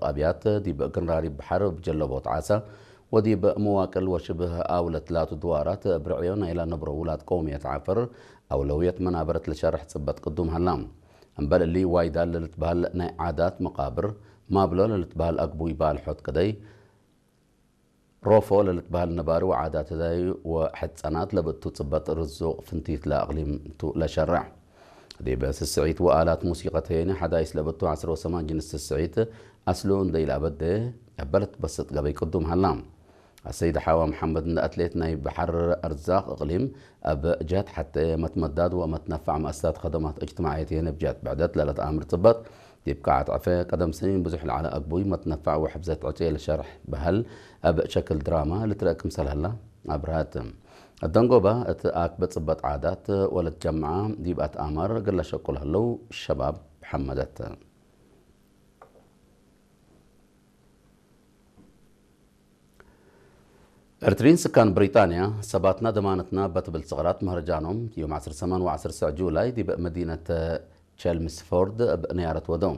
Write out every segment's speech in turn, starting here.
ኣብያት ዲብ ግንራሪ ባሕር ብጀለቦት ዓሳ ወዲብ መዋቅል ወሽብህ ኣውለት ላቱ ድዋራት ብርዕዮ ናይላ ነብሮ ውላድ ቀውምየት ዓፈር ኣውለውየት መናበረት ለሸርሕ ጽበት ቅዱም ሃላ። እምበል እሊ ዋይዳ ለልትበሃል ናይ ዓዳት መቃብር፣ ማብሎ ለልትበሃል ኣግቡይ ባልሖት ቅደይ፣ ሮፎ ለልትበሃል ነባሪ ወዓዳት ህዳይ ወሕጸናት ለብእቱ ጽበት ርዙቕ ፍንቲት ለኣቕሊምቱ ለሸርሕ። ዲብ ስስዒት ወኣላት ሙሲቀት ሄኒ ሓዳይስ ለብእቱ ዓስር ወሰማን ጅንስ ስስዒት ኣስሉ እንደ ኢላበደ ያበለት በሰጥ ገበይ ቅዱም ሃላ። ኣሰይድ ሓዋ መሓመድ እንደ ኣትሌት ናይ ባሕር ኣርዛቕ እቕሊም ኣብ ጀት ሓተ መትመዳድ ወመትነፋዕ መእሳት ኸደማት እጅትማዕየት የንብ ጀት ብዕደት ለለት ኣምር ጽበት ዲብ ቃዓት ዕፈ ቀደም ሰኒን ብዙሕ ለዓለ ኣግቡይ መትነፋዕ ወሕብዘት ዕጽየ ለሸርሕ በሃል ኣብ ሸክል ድራማ ልትረእ ክምሰል ሃላ ኣብርሃት። ኣደንጎባ እቲ ኣክበ ጽበት ዓዳት ወለት ጀምዓ ዲብ ኣትኣማር ግለ ሸቁል ሃለው ሸባብ ሓመደት። ኤርትሪን ስካን ብሪጣንያ ሰባትና ደማነትና በትብል ስቕራት መህረጃኖም ዮም ዓሰርተ ሰማን ወዓሰርተ ጁላይ ዲብ መዲነት ቸልምስፎርድ ብንያረት ወደው።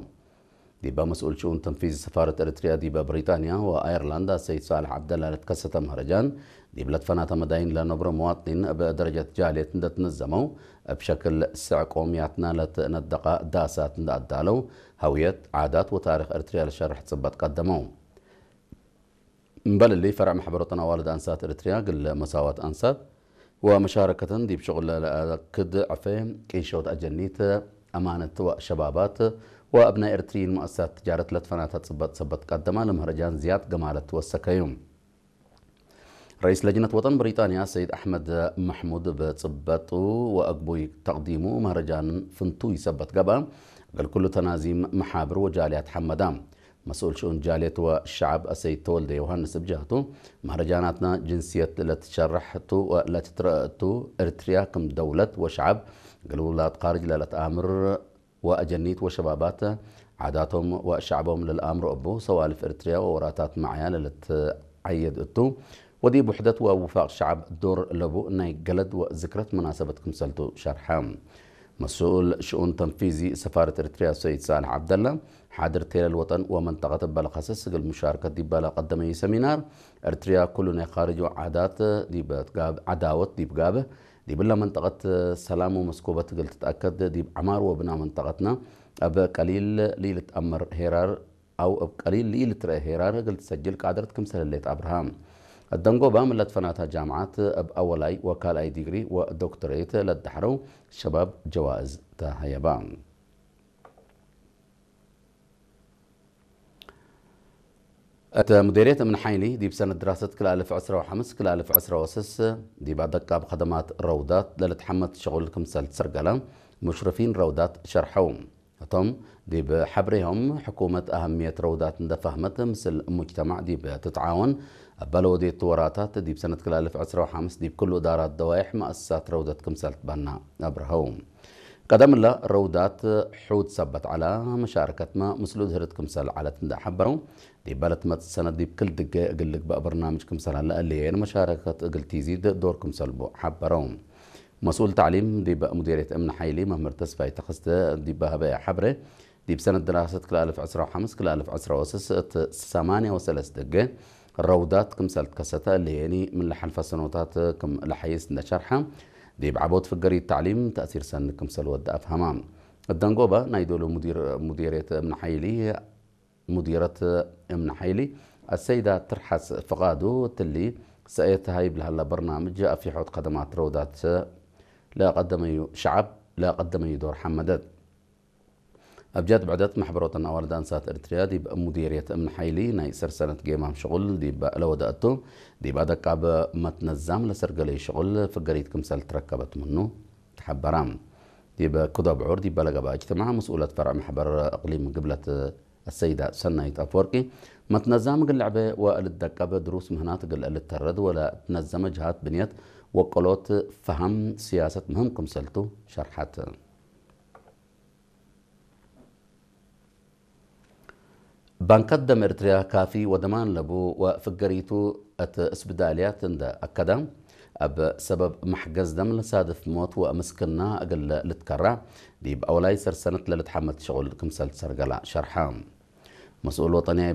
ዲበ መስኡል ሽኡን ተንፊዚ ሰፋረት ኤርትርያ ዲበ ብሪጣንያ ወኣየርላንድ ኣሰይድ ሳልሕ ዓብደላ ለትከሰተ መህረጃን ዲብ ለትፈናተ መዳይን ለነብሮ መዋጥኒን እብ ደረጀት ጃልየት እንደትነዘመው እብ ሸክል ስዕቆም ያትና ለትነደቃ ዳሳት እንዳኣዳለው ሀውየት ዓዳት ወታሪኽ ኤርትርያ ለሸርሕ ጽበት ቀደመው። እምበልሊ ፈርዕ ማሕበሮተን ኣዋልድ ኣንሳት ኤርትርያ ግለ መሳዋት ኣንሳት ወመሻረከተን ዲብ ሽቁል ለኣክድ ዕፌ ቂሾት ኣጀኒት ኣማነት ወሸባባት ወእብ ናይ ኤርትሪን ሙኣሳት ትጃረት ለትፈናታ ጽበጥ ሰበት ቀደማ ለምህረጃን ዝያድ ገማለት ወሰከዩ። ረኢስ ለጅነት ወጠን ብሪጣንያ ሰይድ ኣሕመድ ማሕሙድ ብጽበጡ ወአግቡይ ተቅዲሙ ምህረጃን ፍንቱይ ሰበት ገብአ እግል ኩሉ ተናዚም መሓብር ወጃልያት ሓመዳ። መስኡል ሽኡን ጃልየት ወሸዓብ ኣሰይድ ተወልደ ዮሃንስ እብ ጃህቱ፣ መህረጃናትና ጅንስየት ለትሸርሕ እቱ ወለትትረአ እቱ፣ ኤርትርያ ክም ደውለት ወሸዓብ እግል ውላድ ካርጅ ለለትኣምር ወአጀኒት ወሸባባት ዓዳቶም ወሸዕቦም ለልኣምሮ እቡ፣ ሰዋልፍ ኤርትርያ ወወራታት መዓያ ለለትዓየድ እቱ፣ ወዲብ ውሕደት ወውፋቅ ሸዓብ ዶር ለቡ ናይ ገለድ ወዝክረት መናሰበት ክምሰልቱ ሸርሐ። መስኡል ሽኡን ተንፊዚ ሰፋረት ኤርትርያ ሰይድ ሳልሕ ዓብደላ፣ ሓድር ቴለል ወጠን ወመንጠቀት በለኸሰስ እግል ሙሻርከት ዲበለ ቀደመዩ ሰሚናር፣ ኤርትርያ ኩሉ ናይ ኻርጅ ዓዳት ዲብ ጋብ-፣ ዓዳወት ዲብ ጋብህ ዲብላ መንጠቀት ሰላም ወመስኮበት እግል ትትአከድ ዲብ ዐማር ወብና መንጠቀትና እብ ቀሊል ሊልትአመር ሄራር አው እብ ቀሊል ሊኢልትረአ ሄራር እግል ትሰጅል ቃድረት ክምሰል ህሌት አብርሃም። እደንጎባ ምለት ፈናታ ጃምዓት እብ አወላይ ወካልኣይ ዲግሪ ወዶክቶሬት ለዳሕረው ሸባብ ጀዋእዝ ተሀየባ። እት ሙዴርየት እምን ሓይሊ ዲብ ሰነት ድራሰት ክልኣልፍ ዕስራ ወሓምስ ክልኣልፍ ዕስራ ወስስ ዲብ አደቃብ ከደማት ረውዳት ለልትሐመት ሸቁል ክምሰል ትሰርገላ ሙሽርፊን ረውዳት ሸርሐው። እቶም ዲብ ሐብሬሆም፣ ሕኩመት አህምየት ረውዳት እንደ ፈህመት፣ ምስል ሙጅተማዕ ዲብ ትትዓወን፣ እበ ለወዴት ወራታት ዲብ ሰነት ክልኣልፍ ዕስራ ወሓምስ ዲብ ክሉ እዳራት ደዋይሕ መአሰሳት ረውደት ክምሰል ትበና አብርሀው። ቀደምላ ረውዳት ሑድ ሰበት ዐላ፣ መሻረከትመ ምስሉ ድህርት ክምሰል ዐለት እንደ ሐበረው፣ ዲብ በለት መጽእ ሰነት ዲብ ክል ድገ እግል ልግበእ በርናምጅ ክምሰል ሀለ እልየን መሻረከት እግል ቲዚድ ዶር ክምሰልቡ ሐበረው። መስኡል ተዕሊም ዲብ ሙዴርየት እምን ሓይሊ መምህር ተስፋይ ተኸስተ ዲብ በሀበ ሐብረ፣ ዲብ ሰነት ድራሰት ክልኣልፍ ዕስራ ወሓምስ ክልኣልፍ ዕስራ ወስስ እት ሰማንያ ወሰለስተ ደገ ረውዳት ክምሰል ትከሰተ እልየኒ ምን ለሐልፈ ሰኖታት ክም ለሐይስ እንደ ሸርሐ፣ ዲብ ዐቦት ፍገሪት ተዕሊም ተእሲር ሰኒ ክምሰል ወደ አፍሀማ። እደንጎባ ናይ ዶሉ ሙዲር-፣ ሙዴርየት እምን ሓይሊ ሙዲረት እምን ሓይሊ አሰይዳ ትርሓስ ፍቃዱ ትሊ ሰእየት ሃይብ ለሀላ በርናምጅ አፊሖት ከደማት ረውዳት ለቀደመዩ ሸዓብ ለቀደመዩ ዶር ሐመደት። አብ ጃት ብዕደት ማሕበሮተን አዋልድ አንሳት ኤርትርያ ዲብ ሙዴርየት እምን ሓይሊ ናይ ሰርሰነት ጌማም ሽቁል ዲብ ለወደአቱ ዲብ አደቃብ መትነዛም ለሰርገለዩ ሽቁል ፍገሪት ክምሰል ትረከበት ምኑ ተሐበራ። ዲብ ኩዶ ብዑር ዲብ በለገባ እጅትማዕ መስኡለት ፈርዕ ማሕበር እቅሊም ግብለት አሰይዳ ሰናይት አፈወርቂ፣ መትነዛም እግል ለዕበ ወእልትደቀብ ድሩስ ምህናት እግል እልተረድ ወለትነዘመ ጅሃት ብንየት ወቀሎት ፈሃም ስያሰት ምህም ክምሰልቱ ሸርሐት። ባንከት ደም ኤርትርያ ካፊ ወደማን ለቡ ወፍገሪቱ እት እስብዳልያት እንደ አከዳ፣ እብ ሰበብ መሕገዝ ደም ለሳድፍ ሞት ወምስክና እግል ልትከራ፣ ዲብ አውላይ ሰርሰነት ለልትሐመት ሽቁል ክምሰል ትሰርገላ ሸርሐ። مسؤول وطني